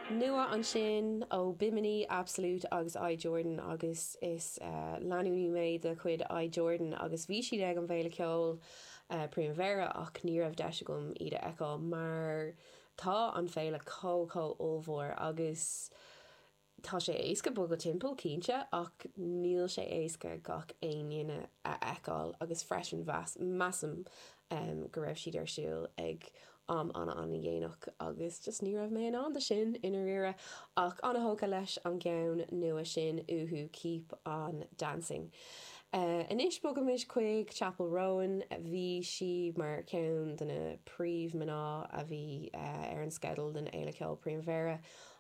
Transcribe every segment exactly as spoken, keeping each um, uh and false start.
Nua ansin ó Bimini, Absolute agus I Jordan agus is uh, leanúnaí mé de chuid I Jordan agus bhí siad ag an bhFéile Ceoil uh, Primavera ach ní raibh deis agam iad a fheiceáil mar tá an féile chomh chomh ollmhór agus tá sé éasca bogadh timpeall cinnte ach níl sé éasca gach aon duine a fheiceáil agus freisin mheas measaim um, go raibh siad ar siúl ag am an an-dhéanach agus just ní raibh mé in ann de sin i ndáiríre ach an-tógtha leis an gceann nua sin uathu Keep on Dancing. Uh, Anois bogaimis chuig Chappell Roan bhí sí mar ceann de na príomh-mhná a bhí uh, ar an sceideal den Fhéile Ceoil Primavera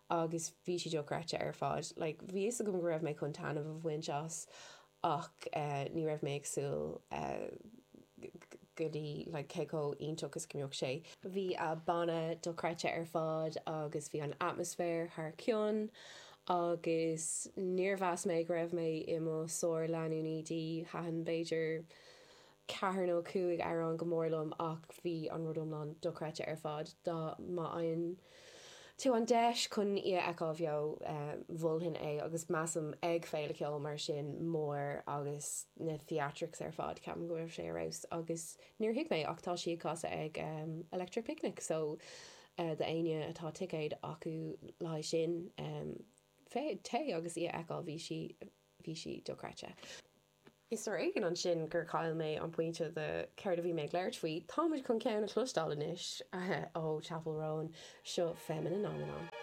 agus bhí sí dochreidte ar fad. Like, bhí a fhios agam go raibh mé chun taitneamh a bhaint as ach uh, ní raibh mé ag súil uh, go dtí like, cé chomh iontach is go mbeadh sé. Bhí a banna dochreidte ar fad agus bhí an atmaisféar thar cionn agus níor mheas mé go raibh mé i mo sár leanúnaí di thaitin b'fhéidir ceathair nó cúig amhrán go mór liom ach bhí an rud iomlán dochreidte ar fad dá má fhaigheann tú an deis chun í a fheiceáil bheo mholfainn é agus measaim ag féile ceoil mar sin mór agus na theatrics ar fad ceapaim go raibh sé ar fheabhas agus níor thuig mé ach tá sí ag casadh ag um, Electric Picnic so uh, d'éinne atá ticéid acu le sin um, téigh agus í a fheiceáil bhí sí bhí sí dochreidte. Is ar éigean ansin gur chaill mé an pointe de céard a bhí mé ag labhairt faoi, Táimid chun ceann a chloisteáil anois ó Chappell Roan seo Femininomenon.